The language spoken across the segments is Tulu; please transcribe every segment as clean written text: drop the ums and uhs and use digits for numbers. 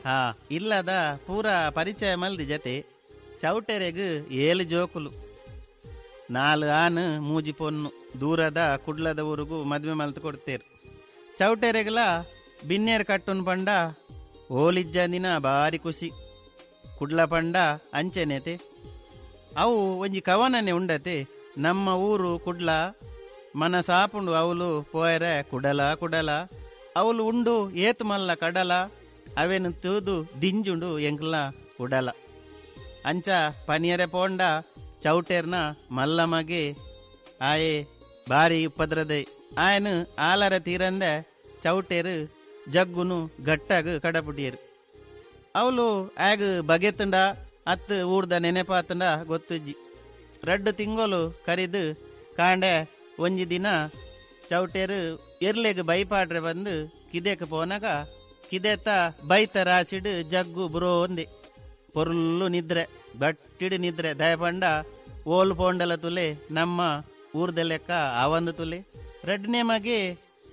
ಹಾ ಇಲ್ಲದ ಪೂರ ಪರಿಚಯ ಮಲ್ದಿ ಜತೆ ಚೌಟೆರೆಗ್ ಏಳು ಜೋಕುಲು, ನಾಲು ಆನು ಮೂಜಿ ಪೊನ್ನು. ದೂರದ ಕುಡ್ಲದ ಊರುಗು ಮದುವೆ ಮಲ್ತು ಕೊಡ್ತೇರು. ಚೌಟೆರೆಗ್ಲ ಬಿನ್ನೇರು ಕಟ್ಟುನ್ ಪಂಡ ಓಲಿಜ್ಜಂದಿನ ಬಾರಿ ಖುಷಿ. ಕುಡ್ಲ ಪಂಡ ಅಂಚೆನೇತೆ ಅವು ಒಂಜಿ ಕವನನೆ ಉಂಡತೆ. ನಮ್ಮ ಊರು ಕುಡ್ಲ ಮನಸಾಪುಂಡು ಅವಲು ಪೋಯರೆ ಕುಡಲ ಕುಡಲ, ಅವಲು ಉಂಡು ಏತು ಮಲ್ಲ ಕಡಲ, ಅವೇನು ತೂದು ದಿಂಜುಂಡು ಎಂಕ್ಲ ಉಡಲ. ಅಂಚ ಪನಿಯರೆ ಪೋಂಡ ಚೌಟೆರ್ನ ಮಲ್ಲ ಮಗೆ ಆಯೆ ಬಾರಿ ಉಪದ್ರದೆ. ಆಯನು ಆಲರ ತೀರಂದೆ ಚೌಟೆರು ಜಗ್ಗುನು ಗಟ್ಟಾಗ ಕಡಪುಟಿಯರು. ಅವಲು ಆಗ ಬಗೆತುಂಡ ಅತ್ತು ಊರ್ದ ನೆನೆಪಾತುಂಡ ಗೊತ್ತುಜ್ಜಿ. ರಡ್ಡು ತಿಂಗೊಲು ಕರಿದು ಕಾಂಡೆ ಒಂಜಿ ದಿನ ಚೌಟೆರು ಎರ್ಲೆಗ್ ಬೈಪಾಡ್ರೆ ಬಂದು ಕಿದೆಕ್ ಪೋನಾಗ ಕಿದೆತ ಬೈತ ರಾಸಿಡು ಜಗ್ಗು ಬುರೋ ಒಂದೆ ಪೊರ್ಲು ನಿದ್ರೆ ಬಟ್ಟಿಡು ನಿದ್ರೆ. ದಯಪಂಡ ಓಲ್ ಪೋಂಡಲ ತುಲೆ ನಮ್ಮ ಊರ್ದ ಲೆಕ್ಕ ಆವಂದು ತುಲೆ. ರಡ್ಡನೇ ಮಗೆ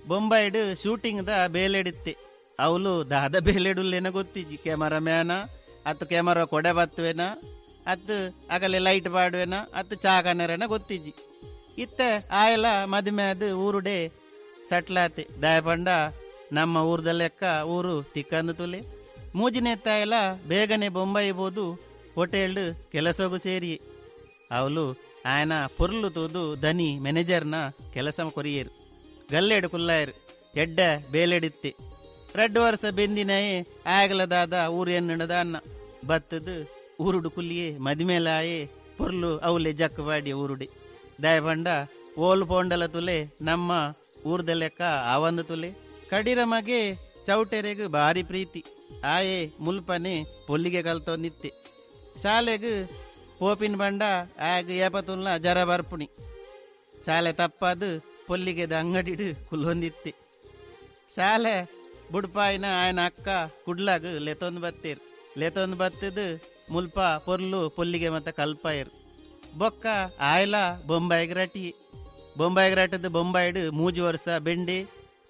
ಬೊಂಬಾಯಿಡು ಶೂಟಿಂಗ್ದ ಬೇಲೆಡಿತ್ತೆ. ಅವಲು ದಾದ ಬೇಲೆಡುಲ್ಲೇನ ಗೊತ್ತಿಜ್ಜಿ. ಕ್ಯಾಮರಾ ಮ್ಯಾನ ಅತ್ತು ಕ್ಯಾಮರಾ ಕೊಡೆ ಬತ್ತುವೆನ ಅತ್ತು ಅಗಲೆ ಲೈಟ್ ಪಾಡುವೆನ ಅತ್ತು ಚಾಕನರೇನ ಗೊತ್ತಿಜ್ಜಿ. ಇತ್ತೆ ಆಯಲ ಮದುವೆ ಅದು ಊರುಡೆ ಸಟ್ಲಾತೆ. ದಯಪಂಡ ನಮ್ಮ ಊರ್ದ ಲೆಕ್ಕ ಊರು ತಿಕ್ಕಂದು ತುಲೆ. ಮೂಜಿನೆ ತಾಯಲ ಬೇಗನೆ ಬೊಂಬಾಯಿ ಬೋದು ಹೋಟೆಲ್ಡ್ ಕೆಲಸಗೂ ಸೇರಿ. ಅವಲು ಆಯನ ಪೊರ್ಲು ತೂದು ದನಿ ಮ್ಯಾನೇಜರ್ನ ಕೆಲಸ ಕೊರಿಯೇರು. ಗಲ್ಲೆಡು ಕುಲ್ಲಾಯರು ಎಡ್ಡೆ ಬೇಲೆಡಿತ್ತೆ. ರಡ್ಡು ವರ್ಷ ಬೆಂದಿನಯೇ ಆಗಲದಾದ ಊರು ಎನ್ನದ ಅನ್ನ ಬತ್ತದು ಊರುಡು ಕುಲ್ಲಿಯೇ ಮದಿಮೇಲಾಯೇ ಪೊರ್ಲು ಅವಲೆ ಜಕ್ಕವಾಡಿ ಊರುಡೆ. ದಯಪಂಡ ಓಲ್ ಪೋಂಡಲ ತುಲೆ ನಮ್ಮ ಊರ್ದ ಲೆಕ್ಕ ಆವಂದು ತುಲೆ. ಕಡಿರ ಮಗೆ ಚೌಟೆರೆಗ್ ಬಾರಿ ಪ್ರೀತಿ. ಆಯೆ ಮುಲ್ಪನೆ ಪೊಲ್ಲಿಗೆ ಕಲ್ತೊಂದಿತ್ತೆ. ಶಾಲೆಗ್ ಪೋಪಿನ ಬಂಡ ಆಗ ಏಪತುಲ್ಲ ಜರ ಬರ್ಪುಣಿ. ಶಾಲೆ ತಪ್ಪಾದು ಪೊಲ್ಲಿಗೆದ ಅಂಗಡಿಡು ಕುಲ್ಲೊಂದಿತ್ತೆ. ಶಾಲೆ ಬುಡ್ಪಾಯಿನ ಆಯನ ಅಕ್ಕ ಕುಡ್ಲಾಗ ಲೆತೊಂದು ಬತ್ತೇರು. ಲೆತೊಂದು ಬತ್ತದು ಮುಲ್ಪ ಪೊರ್ಲು ಪೊಲ್ಲಿಗೆ ಮತ್ತೆ ಕಲ್ಪಾಯರು. ಬೊಕ್ಕ ಆಯಲ ಬೊಂಬಾಯಿಗೆ ರಟಿ. ಬೊಂಬಾಯಿಗೆ ರಟದು ಬೊಂಬಾಯಿಡು ಮೂಜಿ ವರ್ಷ ಬೆಂಡಿ,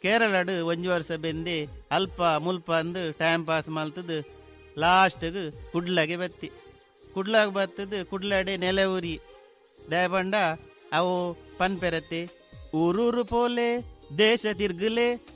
ಕೇರಳಡು ಒಂಜಿ ವರ್ಷ ಬೆಂದಿ ಅಲ್ಪ ಮುಲ್ಪ ಅಂದು ಟೈಮ್ ಪಾಸ್ ಮಲ್ತದು ಲಾಸ್ಟ್ಗೆ ಕುಡ್ಲಾಗೆ ಬತ್ತಿ. ಕುಡ್ಲಾಗ ಬತ್ತದು ಕುಡ್ಲಾಡೆ ನೆಲೆ ಊರಿ. ದಯಪಂಡ ಅವು ಪನ್ಪೆರತ್ತೆ ಊರೂರು ಪೋಲೆ ದೇಶ ತಿರ್ಗಲೆ